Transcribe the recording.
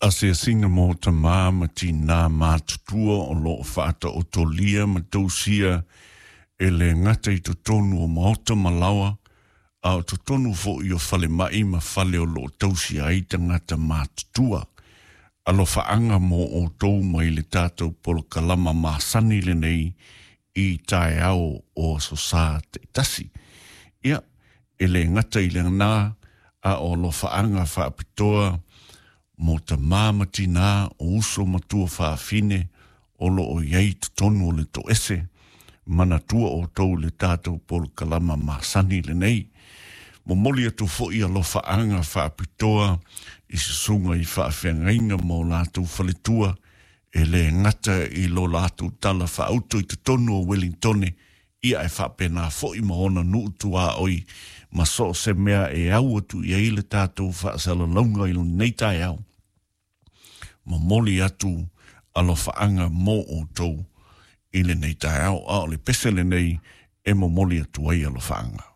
Asiasiga mo tamā ma tinā matutua o loo faataotolia ma tausia e le gata i totonu o maota ma laoa, a o totonu fo'i o falemai ma fale o loo tausia ai tagata matutua. Alofaaga mo outou mai le tatou polokalama masani lenei i taeao o aso Sā taitasi. Ia, e le gata i lena, a o alofaaga faapitoa mo tamā ma tinā o uso ma tuafafine o loo i ai totonu o le toese. Manatua outou le tatou polokalama masani lenei. Momoli atu fo'i alofaaga faapitoa i susuga i faafeagaiga ma o latou faletua, e le gata i lo latou tala faauto i totonu o Wellingtone, ia e faapena fo'i ma ona nuu tuaoi ma so o se mea e au atu i ai le tatou faasalalauga i lenei taeao. Momoli atu alofaaga mo outou i lenei taeao, a o le pese lenei e momoli atu ai alofaaga.